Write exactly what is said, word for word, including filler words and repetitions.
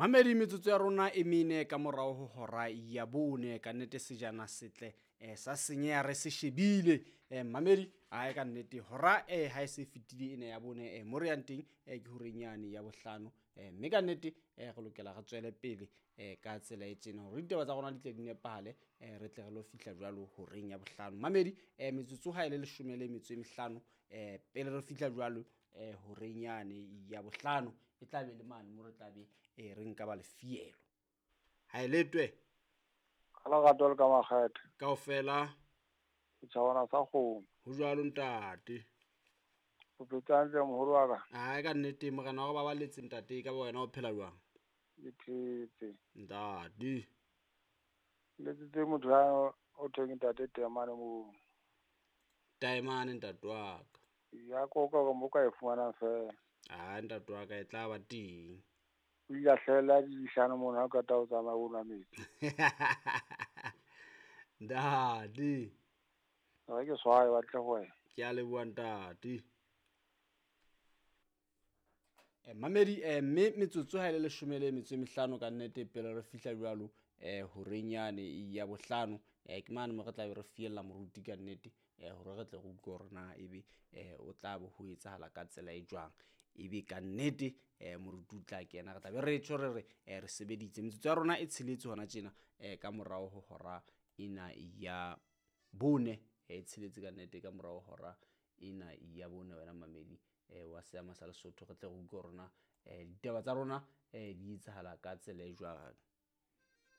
Mamedi, metsotso ya rona e mene ka morao ho hora ya bone. Ka nnete sejana setle eh, sa senyeha re se shebile. eh, Mamedi, ae ka nnete hora eh, ha e se fetile ena ya bone, eh, mo re yang teng eh, ke horeng yane ya bohlano. eh, Mme ka nnete eh, re lokela re tswele pele eh, ka tsela e tjena hore ditaba tsa rona di tle di nepahale, eh, re tle re lo fihla jwalo horeng ya bohlano. Mamedi, eh, metsotso ha e le leshome le metso e mehlano eh, pele re fihla jwalo eh, horeng yane ya bohlano, e tla be le mane mo re tla be eh, re nka ba lefielo. Ha e letwe Ka lerato le ka makgethe. Kaofela. Setjhabana sa kgomo. Ho jwalo ntate. O phetse hantle moholo wa ka? Ai ka nnete morena wa ba baletse ntate, ka ba wena o phela jwang? Ke phetse. Ntate. Letsitse motho ya o thweng ntate Taemane moo. Taemane ntate wa ka. Ya koka hore mo ka e fumanang feela. Ah ntate wa ka e tla ba teng. O ile a hlahella dihlano mona ha o qeta ho tsamaya o nwa metsi. Ntate. Re ke swaye ba tle ho wena. Ke a leboha ntate. Eh, mamedi, eh, mme metsotso ha e le leshome le metso e mehlano ka nnete pele re fihla jwalo eh, horeng yane ya bohlano, eh, ke mane mo re tla be re fiella moruti ka nnete, eh, hore re tle re utlwe hore na ebe eh, o tla bo ho etsahala ka tsela e jwang. Ebe ka nnete eh, moruti o tla kena, re tla be re tjho re re eh, re sebeditse. Metsotso ya rona e tsheletse hona tjena eh, ka morao ho hora ena ya bone, e tsheletse ka nnete ka morao ho hora ena ya bone. Wena mamedi eh, wa seama sa Lesotho, re tle re utlwe hore na eh, ditaba tsa rona eh, di etsahala ka tsela e jwang.